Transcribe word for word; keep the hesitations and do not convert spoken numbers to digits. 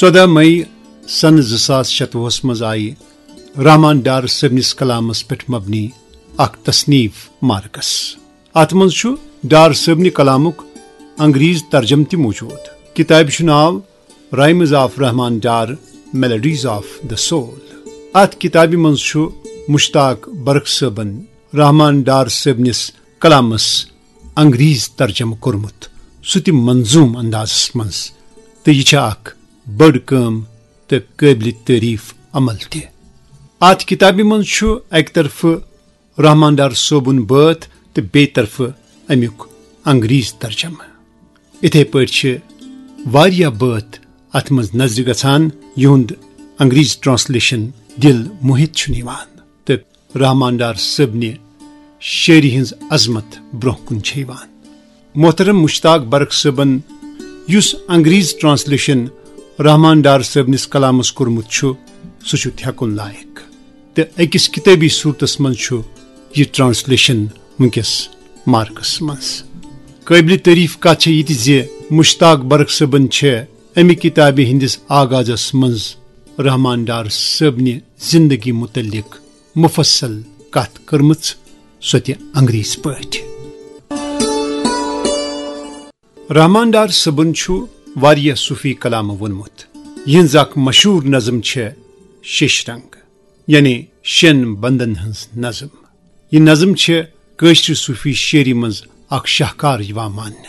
ژۄدہ مئی سنہٕ زٕ ساس شتوُہس منٛز آیہِ رحمان ڈار صٲبنِس کلامس پٮ۪ٹھ مبنی اکھ تصنیف مارکس۔ اتھ منٛز چھُ ڈار صٲبنہِ کلامُک انگریز ترجمہٕ تہِ موجود۔ کتابہِ چھُ ناو Rhymes of Rahman Dar, Melodies of the Soul۔ اتھ کتابہِ منٛز چھُ مشتاق برق صٲبن رحمان ڈار صٲبنِس کلامس انگریز ترجمہٕ کوٚرمُت، سُہ تہِ منظوم اندازس منٛز، تہٕ یہِ چھےٚ اکھ بٔڑ کٲم تہٕ قٲبلِ تعریف عمل تہِ۔ اتھ کتابہِ منٛز چھُ اکہِ طرفہٕ رحمان ڈار صٲبُن بٲتھ تہٕ بیٚیہِ طرفہٕ امیُک انگریز ترجمہٕ۔ اِتھے پٲٹھۍ چھِ واریاہ بٲتھ اتھ منٛز نظرِ گژھان، یِہُنٛد انگریز ٹرانسلیشن دل موہِتھ چھُ نِوان، تہٕ رحمان ڈار صٲبنہِ شٲعری ہٕنٛز عظمت برونٛہہ کُن چھےٚ یِوان۔ محترم مشتاق برق صٲبن یُس انگریز ٹرانسلیشن رحمان ڈار صٲبنِس کلامس کوٚرمُت چھُ، سُہ چھُ تھٮ۪کُن لایق۔ تہٕ أکِس کِتٲبی صوٗرتس منٛز چھُ یہِ ٹرانسلیشن وٕنکیٚس مارکس منٛز۔ قٲبلِ تعریف کتھ چھےٚ یہِ تہِ زِ مشتاق برق صٲبن چھےٚ امہِ کتابہِ ہٕنٛدِس آغازس منٛز رحمان ڈار صٲبنہِ زندگی متعلق مفصل کتھ کٔرمٕژ، سۄ تہِ انگریزی پٲٹھۍ۔ رحمان ڈار صٲبن چھُ واریاہ صوفی کلام ووٚنمُت، یِہنٛز اکھ مشہوٗر نظم چھےٚ شیش رنگ، یعنی شٮ۪ن بندن ہٕنٛز نظم۔ یہِ نظم چھےٚ کٲشرِ صوفی شٲعری منٛز اکھ شاہکار یِوان ماننہٕ۔